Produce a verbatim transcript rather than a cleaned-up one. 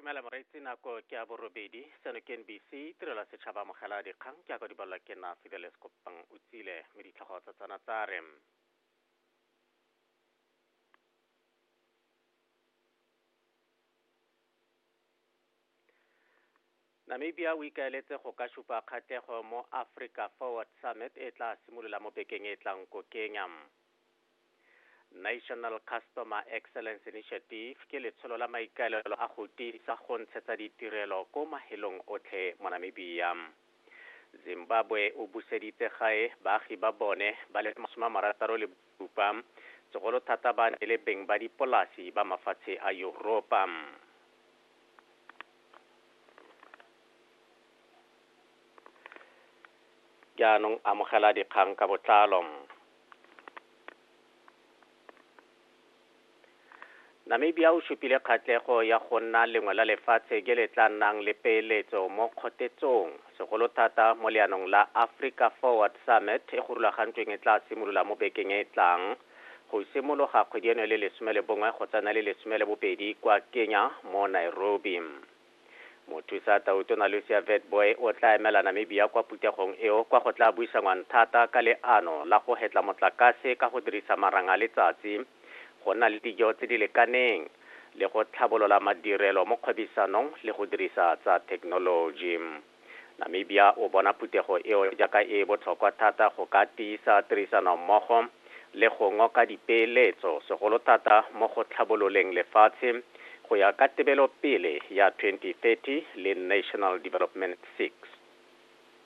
Dumela moreetsi, nako ke ya borobedi. Seno ke N B C, tirelo ya setšhaba. Amogela dikgang ke ya ka di balelwa ke nna Fidelis Kopang o tsile, mme ditlhogo tsa tsona tsa re: Namibia o ikaeletse go ka supa kgatlhego mo Africa Forward Summit e tla simolola mo bekeng e tlang ko Kenya. National Customer Excellence Initiative ke letsholo la maikaelelo a go tiisa go ntshetsa ditirelo ko mahelong otlhe mo Namibia. Zimbabwe o buseditse gae baagi ba bone ba le masome a marataro le bosupa, segolo thata ba ne le beng ba dipolasi ba mafatshe a Yuropa. Jaanong amogela dikgang ka botlalo. Namibia o supile kgatlhego ya go nna lengwe la lefatshe ke le tla nnang le peeletso mo kgotetsong, segolo thata mo leanong la Africa Forward Summit e go rulagantsweng e tla simolola mo bekeng e e tlang go simologa kgwedi eno e le lesome le bongwe go tsena le lesome le bobedi kwa Kenya mo Nairobi. Mothusa tautona Lucia Witbooi o tla emela Namibia kwa phuthegong eo, kwa go tla buisanwang thata ka leano la go hetla motlakase ka go dirisa marang a letsatsi, go nna le dijo tse di lekaneng le go tlhabolola madirelo mo kgwebisanong le go dirisa tsa thekenoloji. Namibia o bona phuthego eo jaaka e botlhokwa thata go ka tiisa tirisanommogo le go ngoka dipeeletso, segolo thata mo go tlhabololeng lefatshe go ya ka tebelopele ya twenty thirty le National Development six.